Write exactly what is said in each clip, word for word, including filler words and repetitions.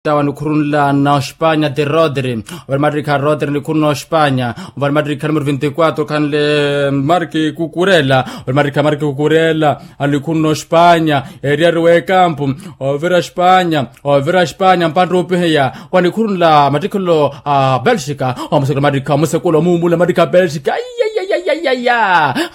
Tawa nikhurunla na ospanya ti rodri. Ovale matrikha rodri nikhuruna ospanya. Ovale matrikha numero vinti quatro khanle marki kukurela. Ovale matrikha marki kukurela, anikhuruna ospanya. Eriari wekampu. Ovira ospanya. Ovira ospanya mpantta opiheya wa nikhurunla matrikhelo a belxika. Omusekula matrikha omusekula omuumula matrikha a belxika.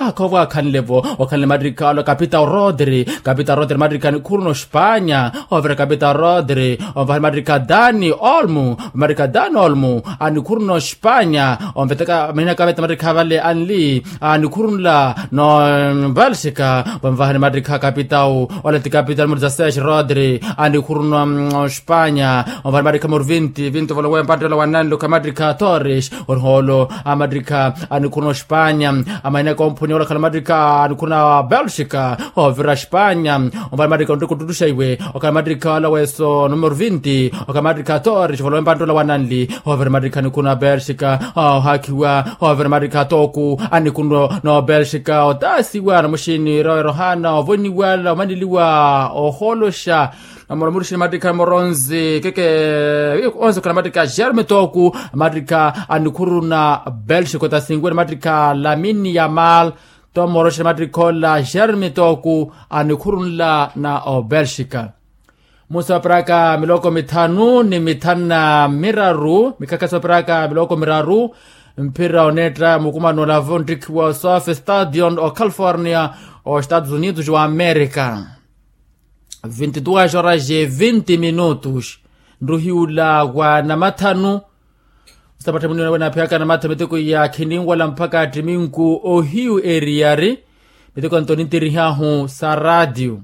Akhova akhanlevo. Okhanle matrikha alo kapitao rodri. Kapitao rodri matrikha anikhuruna ospanya. Ovira kapitao rodri. Onvahani matrikha dani olmu. Matrikha dani olmu anikhuruna ospanya. Onveteka manina kaveta matrikha vale anli anikhurunla no belxika. Vanvahani matrikha kapitao ola ti kapitao numero dezasseis rodri anikhuruna ospanya. Onvahani matrikha numero vinti vinti ovolowe mpattola wananli okha matrikha torres. Oriholo a matrikha anikhuruna ospanya. Amaina komphunya olakhala matrikha anikhuruna belxika. Ovira spanya. Omvale matrikha onreka ottuttuxa iwe okhala matrikha ala weso numero vinti okhala matrikha torres ovolowe mpattola wananli. Ovira matrikha anikhuruna belxika. Ohakhiwa ovira matrikha toku anikhuruna belxika otasiwa na muxini roerohana ovoniwala omaniliwa oholoxa. Namoromorixini matrikha moronzi keke onzi okhala matrikha germe toku matrikha anikhuruna belxika otasinwene matrikha lamini yamal. Tomoromorixini matrikha ola germe toku anikhurunla na obelxika. Musa paraka miloko mithanu ni mithanu na miraru mikhakha sa paraka miloko miraru. Mphira oneetta mukumano olavo nttikhiwa osofe stadion o california o estados unidos wa america. Vinti duas horas e vinti minutos. Nruhiula wa namathanu. Sapattha munina wena aphiyaka namathanu miteko ya khininwala mpakha attiminku ohiyu eriyari. Miteko anto nintirihahu sa ratio.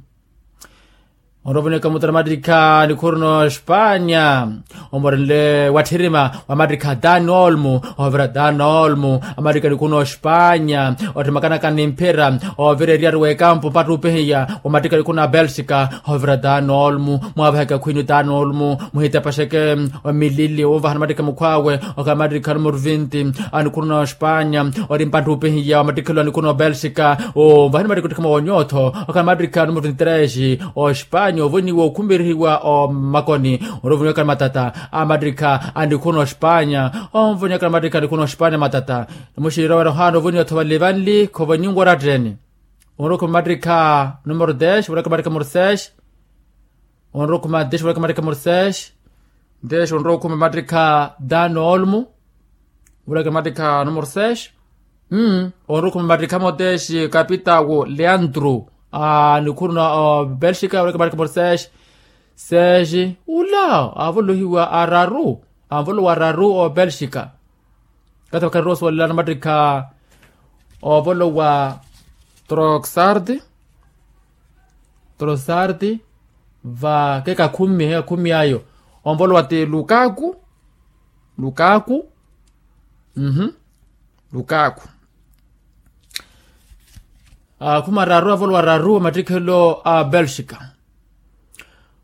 Onrovo nikamutara matrikha nikhuru no spanya. Omorenle watthirima wa matrikha dani olmu. Ovira dani olmu amatrikha nikhuru no spanya. Otthimakanaka nimphira ovira eriyari w'ekampu mpattupehiya wa matrikha nikhuru na belxika. Ovira dani olmu mwavaheke akhwini dani olmu. Muhitepaxeke milili wovahana matrikha mukhwawe. Okhala matrikha numero vinti anikhuru no spanya. Ori mpattupehiya wa matrikhelo anikhuru no belxika. Ovahani matrikha otthikha mwa wonyotho. Okhala matrikha numero vinti tres. Ospanya ovoniwa okhumirihiwa omakoni. Onrovoniwaka ni matata a matrikha anikhuru no spanya. Onvoniwaka ni matrikha anikhuru no spanya matata. Muxirowera ohana ovoniwa tho vale vanli khovoniwa oratteni. Onrokhume matrikha numero des vulaka matrikha numero seis. Onrokhume des vulaka matrikha numero seis. Des onrokhume matrikha dani olmu. Vulaka matrikha numero seis. Onrukhu matrikha moteexi kapitawo leandro. Anikhuruna obelxika wulaka matrikha moteexi. Seexi ula avolohiwa araru. Avolowa araru obelxika. Kata vakharira osowalelana matrikha ovolowa troxard. Troxard. Va kekakhumi ayo. Onvolowa ti lukaku. Lukaku. Lukaku. Akhuma araru avolowa araru a mattikhelo a belxika.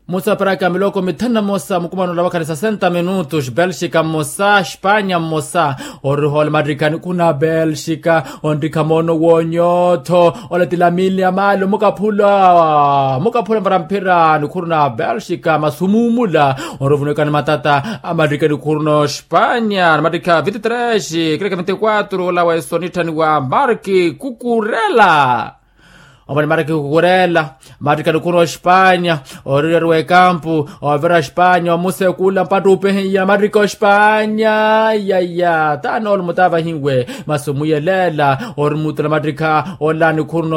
Musa paraka miloko mithanu na mosa mukumano ola vakhala sesenta minutos belxika mmosa espanya mmosa. Orihola mattikha nikhu na belxika. Onttikha moono wonyotho. Ola ti lamini ya maalo mukaphula mukaphula mpara mphira nikhuru na belxika masumumula. Onrovunuweka ni matata a mattikha nikhuru no spanya na mattikha vinti tres kireka vinti quatro ola wa esonitthani wa marki kukurela. Omani marki kukurela. Mattikha nikhuru no spanya. Oririwa ekampu ovira spanya omusekula mpattupehiya mattikha ospanya. Yaya tano olumutavahiwe. Masi omuyelela orimutula mattikha ola nikhuru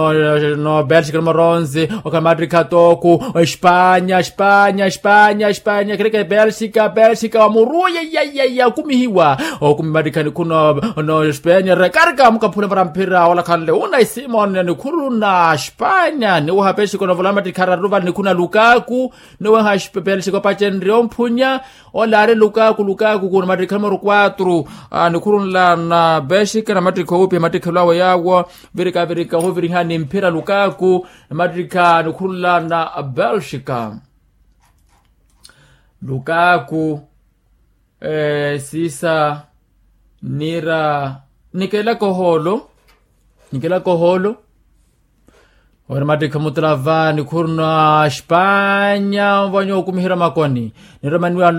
no belxika nomoronzi. Okhala mattikha toku. Espanya espanya espanya espanya kireke belxika belxika wa muruye. Yayaya okumihiwa. Okumi mattikha nikhuru no espanya rekarika mukaphula mpara mphira ola khanle unai simon nikhuru na espanya niweha belxika onovola mattikha araru vale nikhuru na lukaku. Niweha belxika opacenrye omphunya. Ola ari lukaku lukaku kuna mattikha numero quatro. Nikhurunla na belxika na mattikha oopia mattikhelo awe yawo. Virika virika ohuvirihani mphira lukaku na mattikha nikhurunla na belxika. Lukaku. Siisa nira nikelaka ohoolo. Nikelaka ohoolo. Ori mattikhi mutula va nikhuru na espanya onvanya okumiherya makoni. Niremaniwa